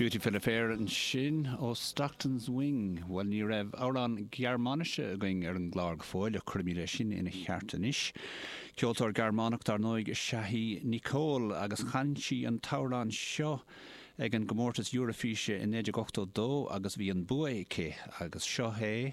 Beautiful Affair ansin ó Stockton's Wing. Bhuel, ní raibh amhrán Gearmáinise againn ar an gclár go fóill, ach cuirfimid é sin ina cheart anois. Ceoltóir Gearmánach, dar ndóigh, is ea í Nicole agus chan sí an t-amhrán seo ag an gcomórtas Eurofíse i 1982 agus bhí an bua aici agus seo é.